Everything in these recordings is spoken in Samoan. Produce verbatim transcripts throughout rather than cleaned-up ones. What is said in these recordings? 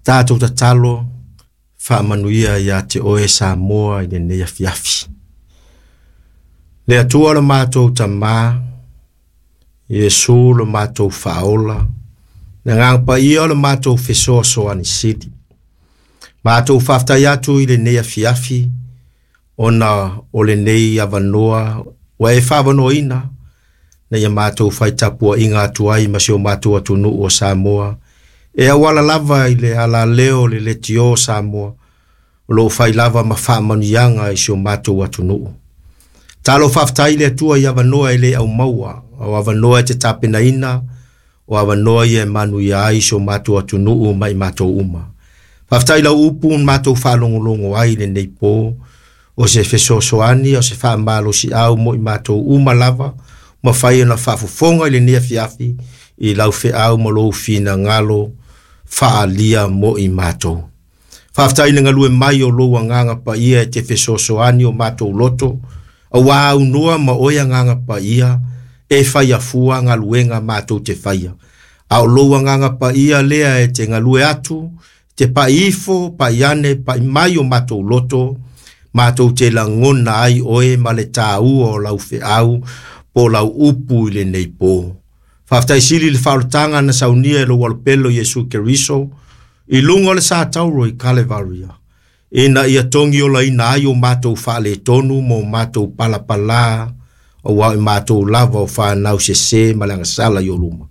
Tatou tatalo faamanuia ia te oe Samoa i lenei afiafi. Le Atua lo matou Tamā, Iesu lo matou Faaola, le Agaga Paia o le matou fesoasoani sili. Matou faafetai atu i lenei afiafi, ona o lenei avanoa ua e faavanoaina, ina ia matou faitapuaiga atu ai ma si o matou atunuu o Samoa, e auala lava i le alaleo o le Leitio o Samoa, o lo o fai lava ma faamanuiaga i si o matou atunuu. Talo faafetai i le Atua i avanoa e le aumaua, o avanoa e te tapenaina, o avanoa ia e manuia ai si o matou atunuu ma i matou uma. Faafetai lau upu na matou faalogologo ai i lenei po, o se fesoasoani, o se faamalosiau mo i matou uma lava, mafai ona faafofoga i lenei afiafi i lau feau ma lou finagalo faaalia mo i matou. Faafetai i le galue mai o lou Agaga Paia e te fesoasoani o matou loto, auā aunoa ma oe Agaga Paia e faia fua galuega matou te faia. A o lou Agaga Paia lea e te galue atu, te pai ifo, pai ane, pai mai o matou loto, matou te lagona ai oe ma le tāua o lau feau po lau upu i lenei po. Faafetai sili le faaolataga na saunia e lou alopelo Iesu Keriso, i luga o le sa tauro i Kalevaria, ina ia togiolaina ai o matou faaletonu ma o matou palapalā, auā o i matou lava o fanau sesē ma le agasala i ou luma.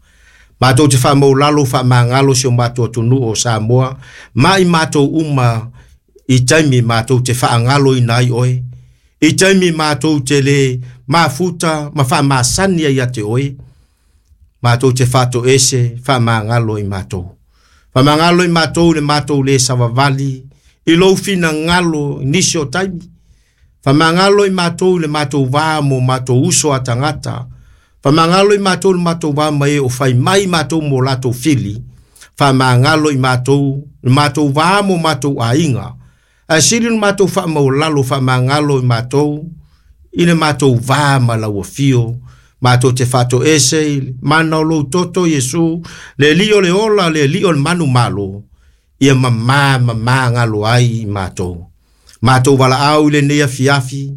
Matou te faamaulalo faamagalo si o matou atunuu o Samoa, ma i matou uma i taimi matou te faagaloina ai oe, i taimi matou te le mafuta ma faamasani ai ia te oe, matou te faatoese faamagalo i matou. Faamagalo i matou i le matou le savavali, i lou finagalo i nisi o taimi. Faamagalo i matou i le matou va ma o matou uso a tagata. Faamagalo i matou i le matou va ma e o fai mai matou mo latou fili. Faamagalo i matou i le matou va ma o matou aiga. Ae sili le matou faamaualalo faamagalo i matou i le matou va ma lau afio. Matou te faatoese i le mana o lou toto Iesu, le Alii o le ola, le Alii o le manumalo, ia mamā mamāgalo ai i matou. Matou valaau i lenei afiafi,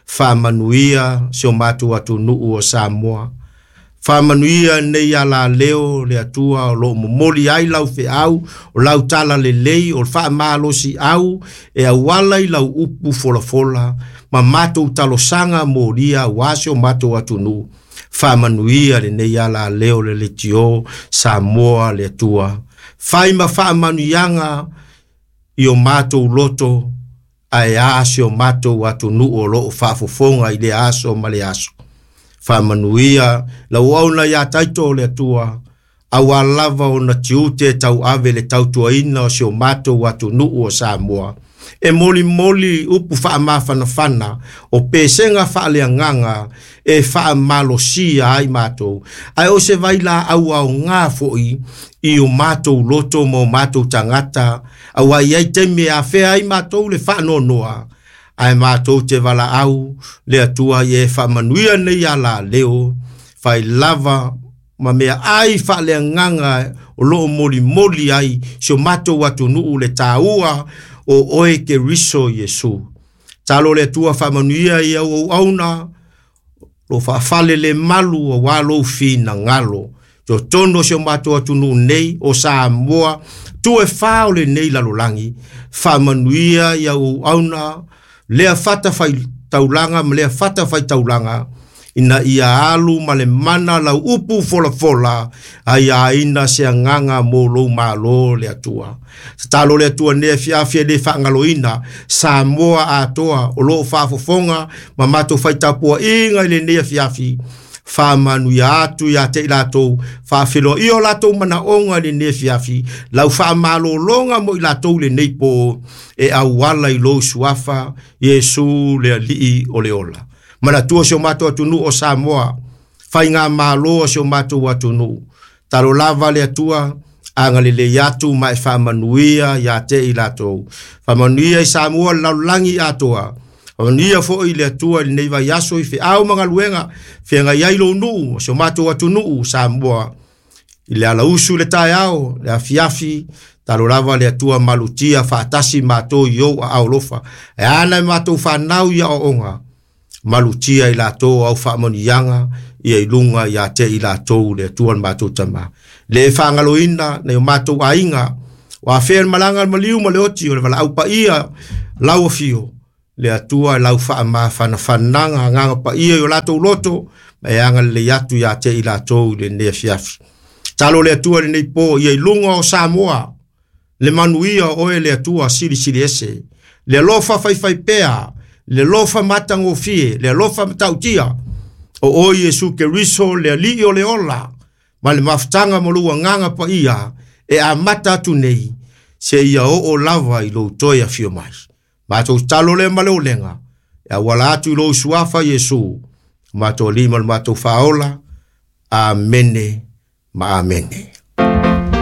faamanuia si o matou atunuu o Samoa. Faamanuia nei alaleo le Atua o loo momoli ai lau feau, o lau tala lelei, o le faamalosiau e auala i lau upu folafola, ma matou talosaga molia auā si o matou atunuu. Faamanuia lenei alaleo le Leitio Samoa le Atua. Fai ma faamanuiaga i o matou loto, ae a si o matou atunuu o loo faafofoga i le aso ma le aso. Faamanuia lau auauna ia Taito o le Atua, auā lava ona tiute tauave le tautuaina o si o matou atunuu o Samoa. E molimoli upu faamafanafana o pesega faaleagaga e faamalosia ai matou. Ae o se vailaau aogā foi i o matou loto ma o matou tagata, auā e i ai taimi e afea ai matou le faanoanoa, ae matou te valaau le Atua ia e faamanuia nei alaleo, fai lava ma mea ai faaleagaga o loo molimoli ai si o matou atunuu le tāua o oe Keriso Iesu. Talo le Atua faamanuia i au auauna, lo faafale le malu auā lou finagalo. Totonu o si o matou atunuu nei o Samoa, tu e whā o lenei lalolagi, faamanuia i au auauna, lea fata fai taulaga ma lea fata fai taulaga, ina ia alu ma le mana lau upu folafola, ai aina se agaga mo lou malo le Atua. Tatalo le Atua nei afiafi e le faagaloina, Samoa atoa o loo faafofoga ma matou faitapuaiga i lenei afiafi, faamanuia atu ia te i latou, faafeiloai o latou manaoga i lenei afiafi, lau faamalologa mo i latou lenei po, e auala i lou suafa, Iesu le Alii o le ola. Manatua si o matou atunuu o Samoa, faigamalo a si o matou atunuu. Talo lava le Atua, agalelei atu ma e faamanuia ia te i latou. Faamanuia i Samoa le lalolagi atoa. Faamanuia foi le Atua i lenei vaiaso i feau ma galuega, feagai ai lou nuu, si o matou atunuu Samoa, I le ala usu le taeao, le afiafi, talo lava le Atua malutia faatasi matou i ou aao alofa. E ana e matou fanau i aoaoga, malutia i latou au faamanuiaga ia i luga ia te i latou le Atua le matou Tama. Le faagaloina nai o matou aiga, o afea le malaga le maliu ma le oti o le valaau paia lau afio, le Atua lau faamafanafanaga agaga paia i o latou loto, ma e agalelei atu ia te i latou i lenei afiafi. Talo le Atua lenei po ia i luga o Samoa, le manuia o oe le Atua silisili ese, le alofa faifaipea, le alofa matagofie, le alofa matautia, o oe Iesu Keriso le Alii o le ola, ma le mafutaga ma lou agaga paia, e amata atu nei, seia oo lava i lou toe afio mai. Matou talo lea ma le olega, e auala atu i lou suafa Iesu, matou Alii ma le matou Faaola. Amene ma amene.